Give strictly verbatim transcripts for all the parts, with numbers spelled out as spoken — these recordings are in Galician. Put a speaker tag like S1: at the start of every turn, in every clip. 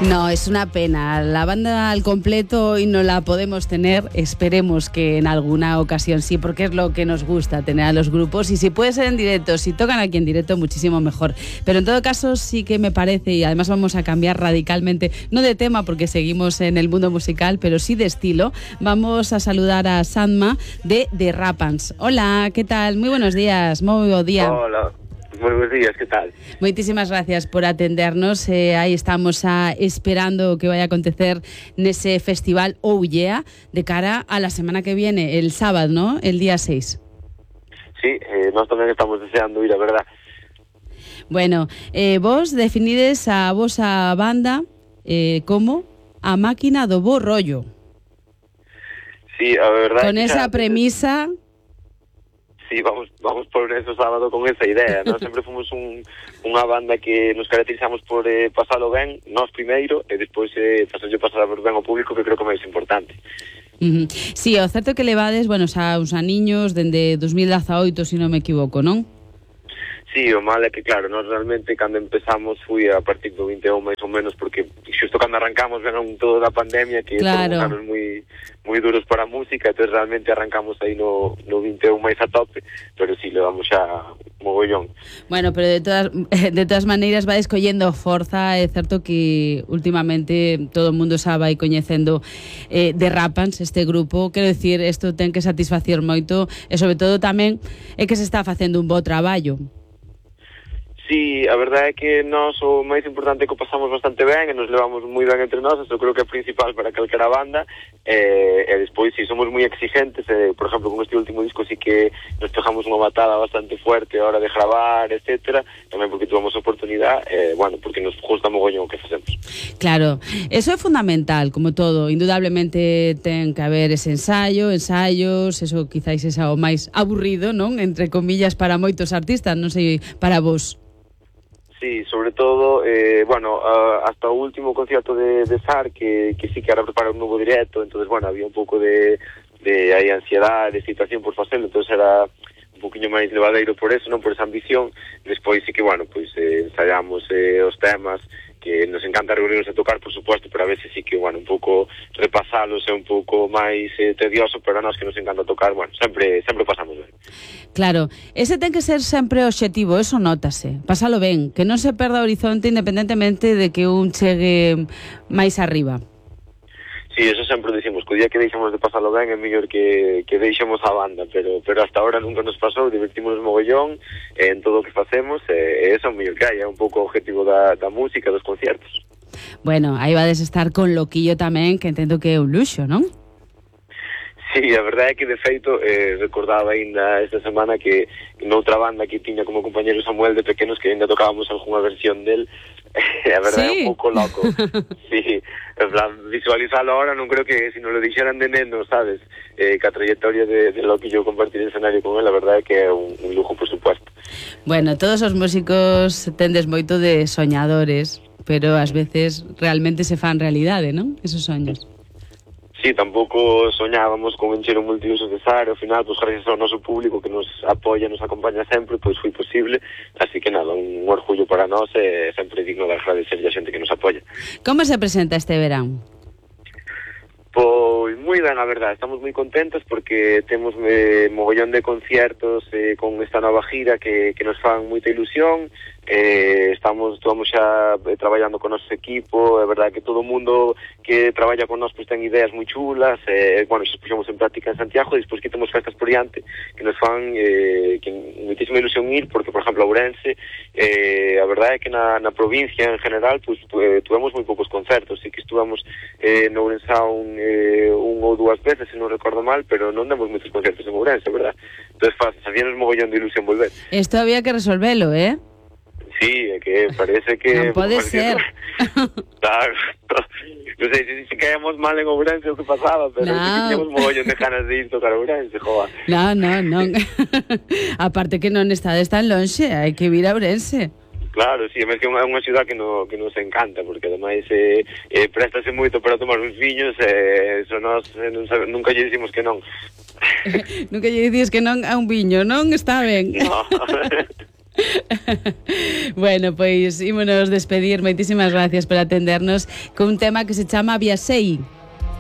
S1: No, es una pena. La banda al completo hoy no la podemos tener. Esperemos que en alguna ocasión sí, porque es lo que nos gusta, tener a los grupos. Y si puede ser en directo, si tocan aquí en directo, muchísimo mejor. Pero en todo caso sí que me parece, y además vamos a cambiar radicalmente, no de tema porque seguimos en el mundo musical, pero sí de estilo. Vamos a saludar a Sanma de The Rapans. Hola, ¿qué tal? Muy buenos días, moi bo día.
S2: Hola. Muy buenos días, ¿qué tal?
S1: Moitísimas gracias por atendernos. Eh, aí estamos a, esperando que vaya a acontecer nese festival Oh Yeah de cara a la semana que viene, el sábado, ¿no? El día seis.
S2: Sí, eh, nós tamén estamos deseando ir, a verdad.
S1: Bueno, eh, vos definides a vosa banda eh, como a máquina do bo rollo.
S2: Sí, a verdad.
S1: Con esa premisa...
S2: Sí, vamos vamos por ese sábado con esa idea, ¿no? Sempre fomos un, unha banda que nos caracterizamos por eh, pasalo ben, nós primeiro, e despois eh, pasarlle pasar ben ao público, que creo que é máis importante.
S1: Uh-huh. Sí, o certo que levades, bueno, xa uns aniños, dende dos mil dezaoito, se non me equivoco, non?
S2: Sí, o mal é que, claro, nós realmente cando empezamos fui a partir do vinte e un máis ou menos, porque xusto cando arrancamos venon todo da pandemia, que
S1: claro.
S2: foron anos moi moi duros para a música, entonces realmente arrancamos aí no, no vinte e un máis a tope, pero sí, levamos xa mogollón.
S1: Bueno, pero de todas de todas maneiras vai escollendo forza, é certo que últimamente todo o mundo xa vai coñecendo eh, The Rapans, este grupo, quero dicir, isto ten que satisfacer moito, e sobre todo tamén é que se está facendo un bo traballo.
S2: Sí, a verdade é que nós o máis importante é que o pasamos bastante ben e nos levamos moi ben entre nós, eso creo que é principal para calquera banda, e, e despois si sí, somos moi exigentes, e, por exemplo, con este último disco sí que nos pegamos unha batada bastante fuerte a hora de gravar, etcétera, tamén porque tuvamos oportunidade, e, bueno, porque nos gusta mogollón o que facemos.
S1: Claro, eso é fundamental, como todo, indudablemente ten que haber ese ensayo, ensayos, eso quizáis é o máis aburrido, non? Entre comillas, para moitos artistas, non sei, para vos.
S2: Sí, sobre todo, eh, bueno, uh, hasta o último concierto de, de S A R, que, que sí que era preparar un novo directo, entonces, bueno, había un pouco de, de aí, ansiedade, de excitación por facelo, entonces era un poquinho máis levadeiro por eso, non por esa ambición. Despois sí que, bueno, pois eh, ensayamos eh, os temas, que nos encanta reunirnos a tocar, por supuesto, pero a veces sí que, bueno, un pouco repasalos é un pouco máis eh, tedioso, pero a nós que nos encanta tocar, bueno, sempre sempre pasamos ben.
S1: Claro, ese ten que ser sempre o obxectivo, eso nótase, pasalo ben, que non se perda o horizonte independentemente de que un chegue máis arriba.
S2: Sí, eso sempre dicimos, que o día que deixamos de pasalo ben é mellor que, que deixemos a banda, pero pero hasta ahora nunca nos pasou, divertimos mogollón eh, en todo o que facemos, e eh, eso é o mellor que hai, é un pouco o objetivo da, da música, dos conciertos.
S1: Bueno, aí vades estar con Loquillo tamén, que entendo que é un luxo, non?
S2: Sí, a verdade é que de feito eh, recordaba ainda esta semana que noutra banda que tiña como compañero Samuel de pequenos, que ainda tocábamos algunha versión del, a verdade sí. É un pouco loco. Sí, en plan, visualizalo ahora non creo que si nos lo dixeran de neno, sabes, eh, que a trayectoria de, de Loquillo compartir el escenario con él, a verdade é que é un, un lujo, por supuesto.
S1: Bueno, todos os músicos tendes moito de soñadores, pero ás veces realmente se fan realidade, non? Esos soños.
S2: Sí, tampouco soñábamos con encher un multiusos de S A R, ao final, pois, gracias ao noso público que nos apoia, nos acompaña sempre, pois foi posible, así que nada, un orgullo para nós e sempre digno de agradecer a xente que nos apoia.
S1: Como se presenta este verán?
S2: Pois moi ben, a verdade, estamos moi contentos porque temos eh, mogollón de conciertos eh, con esta nova gira que, que nos fan moita ilusión. Eh, estamos, estamos xa eh, traballando con o noso equipo, é verdade que todo o mundo que traballa con nós pues, ten ideas moi chulas, eh, bueno, xa puxemos en práctica en Santiago, e despois que temos festas por diante que nos fan eh, que moitísima ilusión ir, porque, por exemplo, a Ourense, eh, a verdade é que na, na provincia en general, pues, eh, tuvemos moi poucos concertos, e que estuvamos eh, no Ourense un, eh, un ou dúas veces, se non recordo mal, pero non demos moitos concertos en Ourense, verdad? Entón, sabíanos mogollón de ilusión volver.
S1: Esto había que resolvelo, eh?
S2: Sí, é que parece que...
S1: Non pode ser.
S2: Claro, non sei se, se caíamos mal en Ourense o que pasaba, pero no. Sí que teníamos mogollón de ganas de ir tocar Ourense, joa.
S1: Non, non, non. Aparte que non estades tan lonxe, hai que vir a Ourense.
S2: Claro, sí, é que é unha, unha ciudad que, no, que nos encanta, porque ademais eh, eh, préstase moito para tomar uns viños, e eh, eso nos, eh, non sabe, nunca lle dicimos que non.
S1: Nunca lle dices que non a un viño, non? Está ben.
S2: No.
S1: Bueno, pois ímonos despedir. Moitísimas gracias por atendernos con un tema que se chama Viaxei.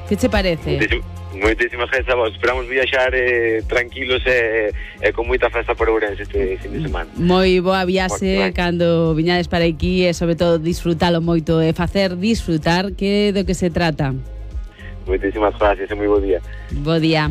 S1: Que che parece?
S2: Moitísimas, moitísimas gracias a vos. Esperamos viaxar eh, tranquilos e, eh, con moita festa por Ourense este fin de semana.
S1: Moi boa viaxe cando viñades para aquí e sobre todo disfrutalo moito e facer disfrutar, que do que se trata.
S2: Moitísimas gracias e moi bo día.
S1: Bo día.